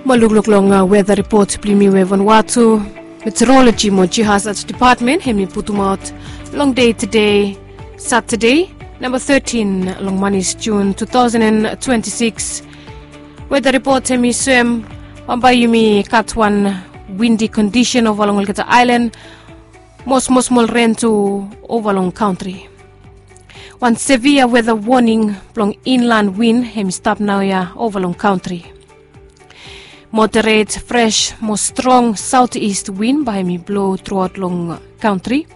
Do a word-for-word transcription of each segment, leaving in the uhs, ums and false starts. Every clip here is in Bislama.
Mo lukluk long weta ripot blong yumi we Vanuatu Meteorology mo Geohazard Department hemi putumaot long dei tede, Satade, namba thirteen long manis Jun two thousand and twenty-six. Weta ripot hemi soem bambae yumi gat wan windi kondisen ova long olgeta aelan mo smosmol ren tu ova long kantri. Wan sevia weta woning blong inlan win hemi stap naoia ova long kantri. Moderet fres mo strong saotis win bae hemi blo truaot long kantri.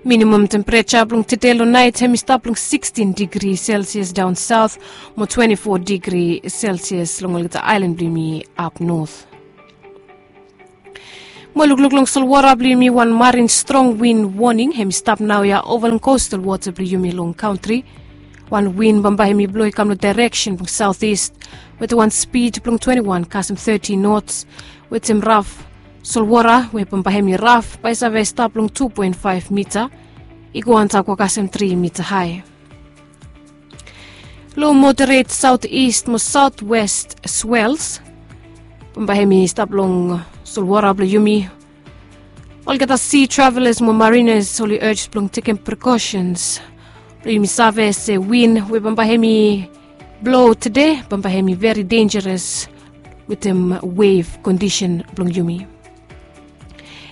Minimam tempereja blong tede long naet hemi stap long sixteen digri selsias daon saot mo twenty-four digri selsias long olgeta aelan blong yumi ap not. Mo lukluk long solwara blong yumi, wan marin strong win woning hemi stap naoia ova long kostal wota blong yumi long kantri. Wan win bambae hemi blo i kam long daereksen blong saotis wetem wan spid blong twenty-one kasem thirty nots, wetem raf solwara we bambae hemi raf bae i save stap long two point five mita i go antap go kasem three mita hae. Lo moderet saotis mo saotwest swels bambae hemi stap long solwara blong yumi. Olgeta sea travelers mo marinas oli urge blong tekem precautions blong yumi save se win we bambae hemi blo tede bambae hemi veri dangeros wetem wave kondisen blong yumi.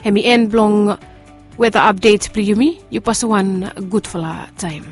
Hemi en blong weta apdet blong yumi. Yu pasem wan gudfala taem.